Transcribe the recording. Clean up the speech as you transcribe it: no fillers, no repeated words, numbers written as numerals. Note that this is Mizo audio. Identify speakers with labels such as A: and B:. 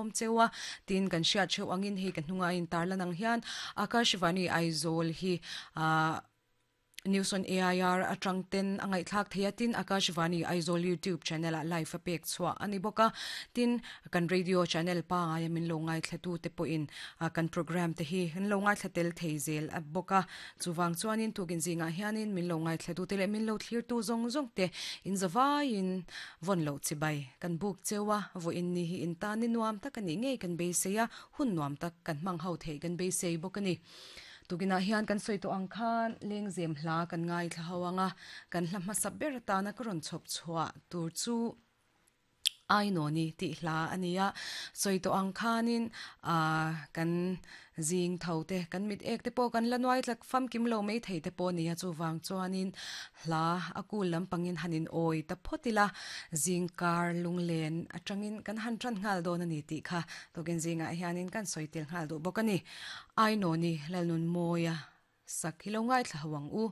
A: sawm cheu a, tin kan hriat theuh angin hei ka hnunga a intarlan ang hian Akashvani Aizawl hi ah News on AIR atang ten a ngaihthlak thei a, tin Akashvani Aizawl YouTube channel ah live a pek chhuah a ni bawk a, tin kan radio channel pangaia min lo ngaithlatu te pawhin kan programme te hi an lo ngaithla tel thei zel a bawk a, chuvang chuanin tukin zingah hianin min lo ngaithlatu te leh min lo thlirtu zawng zawng te in zavaiin vawn loh chibai kan buk cheu a, vawiin ni hi in tan ni nuam tak a nih ngei kan beisei a, hun nuam tak kan hmang ho theih kan beisei bawk a ni. Tukinah hian kan sawi tawh ang khan lengzem hla kan ngaithla ho ang a, kan hla hmasa ber atana ka rawn chhawp chhuah tur chu Ainawni tih hla a ni a. Sawi tawh ang khanin aah kan zing tho te, kan mit ek te pawh kan la nuai tlak famkim lo mai thei te pawh a ni a, chuvang chuanin hla a kul lampangin han in awi ta phawt ila, zing kar lunglen atangin kan han tan nghal dawn a ni tih kha tukin zingah hianin kan sawi tel nghal duh bawk a ni. Ainawni Lalnunmawia sak hi lo ngaithla ho ang u.